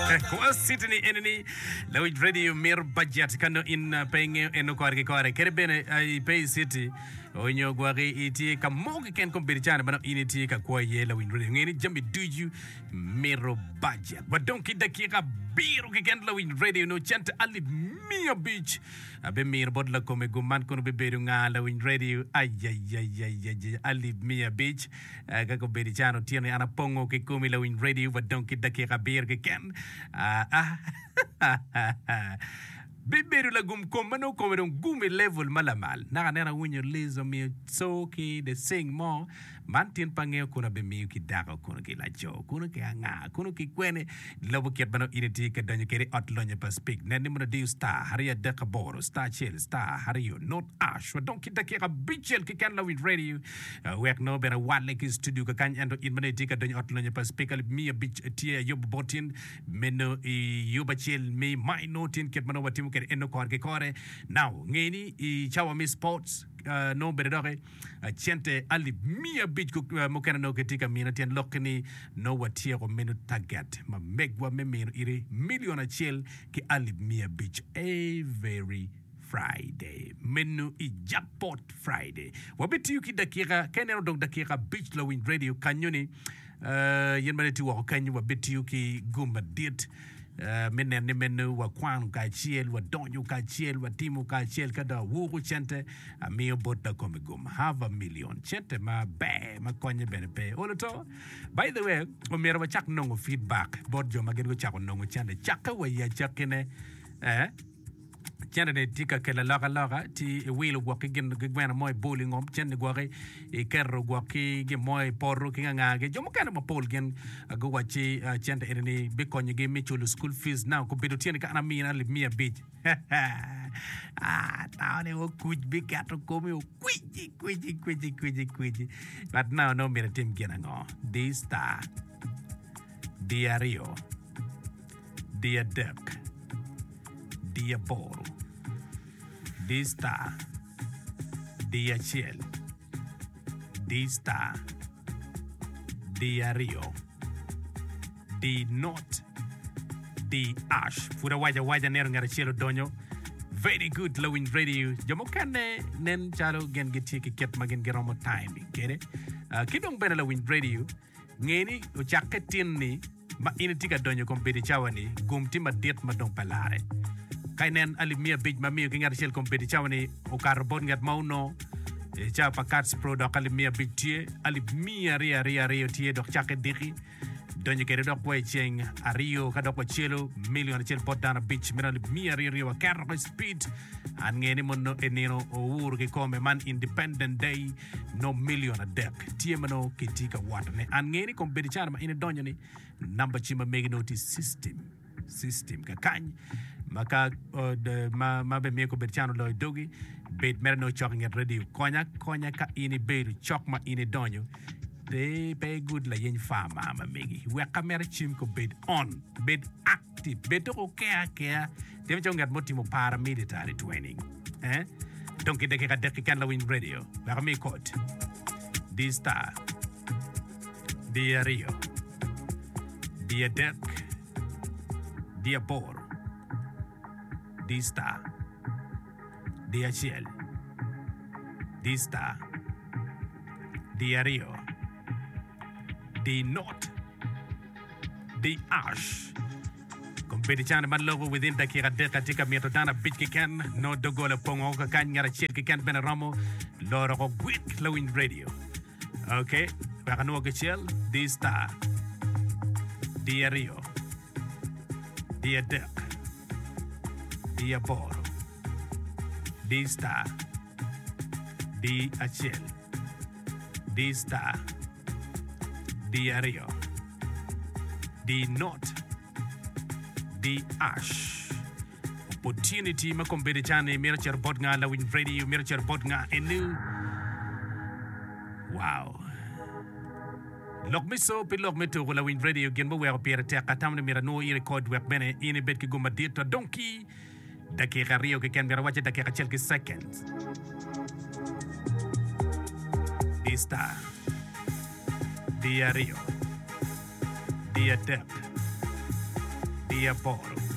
Kwa city ni eni ni lawic radio mito budget ka nongo in pe ingeyo eno kore ki kore kadi bene pe i city onyo gwaki itye ka mo keken kombeddi cani ma nongo in itye ka kwo iye lawiny radio nge ni jami ducu mito budget. Wadong ki dakika abiro keken lawiny radio nongo cente alip 500 abimito bot lakome gum man kono bibedo nga lawiny radio ayayayayaya alip 500 Ka kobedo i can otyeno-ni, an apongo ki komi lawiny redio wa dong ki dakika abiro keken. Bibedo lagum kom ma nongo kome dong gum i level ma lamal. Naka aneno awinyo Liz omiyo co ki the sing mo. Man tin pe angeyo kono abimiyo ki dako kono ki laco kono ki anga kono ki kwene. Lobo kit ma nongo in itye ka donyo kwede i ot lonyo pa Speke. Nen ni mono diyo star aryo adek aboro star acel star aryo not ash wa dong ki dakika abicel keken lawiny redio. Wek nongo bene awalle ki i studio kakany, ento in ma nongo itye ka donyo i ot lonyo pa Spika alip miya abic tye ayubo bot in meno i yub acel me mai nongo tin kit ma nongo watimo kwede eno kore ki kore. Now, nge ni i cawa me sports nongo bene doki cente alip miya abic mukene nongo kitye ka mine tyen lokki ni nongo watyeko meno target ma megwa me mino iri million acel ki alip miya abic every Friday. Meno i Jackpot Friday. Wabitiyo ki dakika, ka ineno dong dakika abic lawiny radio kanyo ni, uh, yen ma tye woko kanyo wabitiyo ki gum madit uh, me neno ni meno wakwano kacel, wadonyo kacel, watimo kacel ka dong awuko cente amiyo bot lakome gum half a million cente maber ma konye bene pe olo to. By the way, omyero wacak nongo feedback bot jo ma gin gucako nongo cente cakke wa i acakkine eh, Cente-ni tye ka kelo alokaloka, ci iwilo gwok ki gin ki gweno mo ibolo i ngom, cente-ni gwoki iketo gwok ki gin mo i poto ki ngangagi. Jo mukene mapol gin guwacci cente eni-ni bikonyogi me culo school fees. Now kobedo tye ni ka an amina alip miya abic atao ni okuc biketo komi okwici kwici kwici kwici kwici but now nongo myero itim gin ango? Di star, di aryo. Di adek, di aboro, di star, di acel, di star, di aryo, di not, di ash. Pud awaco awaca aneno ngat acel odonyo. Very good lawiny radio. Jo mukene nen calo gin gitye ki kit ma gin giromo timing kwede. Uh, ki dong bene lawiny radio. Nge ni ocakke tin-ni ma in itye ka donyo i kom bedo i cawa-ni, gum tye madit ma dong pe larre. Ka inen alip miya abic ma amiyo ki ngat acel kom bedo i cawa-ni okato bot ngat ma onongo i cawa pa Kats Pro dok alip miya abic tye, alip miya aryo aryo aryo tye dok cakke diki donyo kwede dok wa i ceng aryo ka dok wacelo milion acel bot dano abic meno alip miya aryo aryo waketo i speed. An nge ni mono i nino owuro kikome man Independent Day. nongo milion adek tye ma nongo kitye ka wotone. An ngeyo ni kombeddi cana ma in idonyo ni namba cim ma megi nongo tye i system, system kakany ma ka ma ma bimiyo kombeddi cana oloyo dogi bed mere nongo cok i nget radio. Konya konya ka in ibedo cok ma in idonyo pe pe igud layeny farmer ma megi wek ka mere cim kobed on bed active bed dok oker akera timo calo ngat mo timo paramilitary training. Eh? Dong ki dakika adek keken lawiny radio wek ami kod. Di star. Di aryo. Di adek. Di aboro. Di star. Di acel. Di star. Di aryo. Di not. Di ash. Kombeddi cani ma loko within dakika adek atye ka mito dano abic keken nongo doggola opong woko kakany ngat acel keken bene romo loro oko gwik lawiny radio. Ok, wek anwo kicel di star di aryo di adek di aboro di star di acel di star di aryo di not di ash. Opportunity ma kombeddi cani mito cito bot nga lawiny radio mito cito bot nga enu. Wow. Lok me co pi lok me tuku lawiny radio gin muweko pire tek atamo ni myero anwo i record wek bene in ibed ki gum madit adong ki Dakika aryo keken myero awacce dakika acel ki seconds. Di star. Di aryo. Di adek. Di. Di aboro.